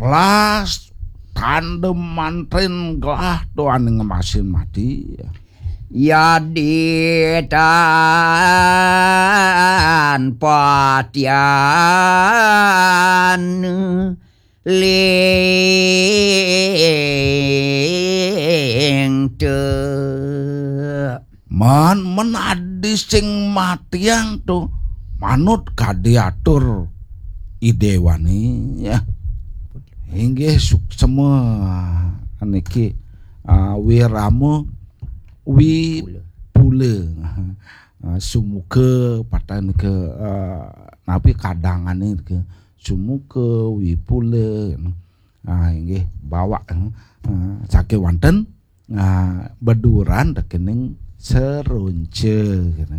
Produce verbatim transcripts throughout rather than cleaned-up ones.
Las tandem mantrin gelah to ane ngemasin mati. Yadi tan patian ling te. Man men adi sing matiang to manut kadiatur idewani ya. Inggih suksema niki, ah, wirama wipula. Ah, sumuka patah nika, ah, napi kadangane nika sumuka wipula. Ah, inggih bawak, ah, saking wanten, ah, beduran rekening seronca kene.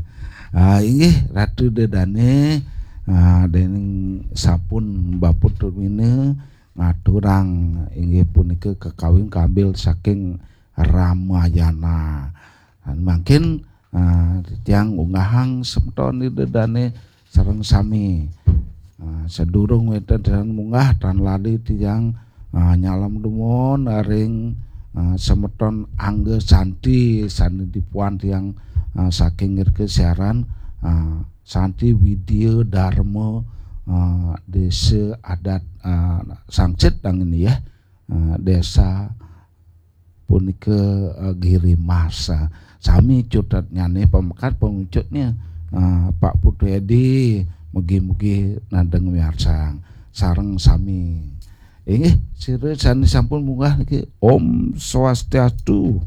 Ah, inggih Ratu Dedane, ah, dening sampun baput turmina ngaturang inggih punika kakawin kambil saking Ramayana. Mangkin, ah, tiang unggahang semeton Ida dane sareng sami. Ah, sadurung wenten tiang munggah tan lali tiang, ah, nyalem dumun ring, ah, semeton Angga Santi sane dipuan tiang, ah, saking irika siaran, ah, Santi Widya Dharma, ah, Desa Adat, ah, Sangsit dang ini ya. Ah, Desa punika, eh, Giri Mas. Ah, sami cutetnyane pamekat pangucutnya, ah, Pak Putu Edi, mugi-mugi nadeng miarsang sareng sami. Inggih, sira sane sampun munggah niki, Om Swastiastu.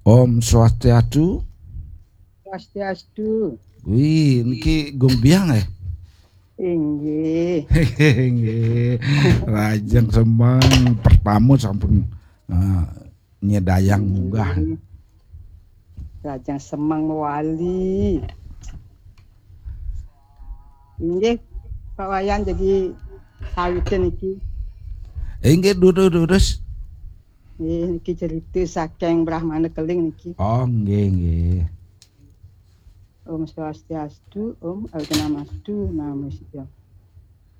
Om Swastiastu. Swastiastu. Wih, niki Gumbiang eh. Inggih. Inggih. Lajeng semeng pertama sampun, eh, nyedayang munggah. Lajeng semeng mewali. Inggih, Pak Wayan jadi sawitin iki. Inggih, durus, durus. Nggih, niki cerita saking Brahmana Keling niki. Oh, nggih, nggih. Om Swastiastu, Om Awighnamastu, Namo Sidham.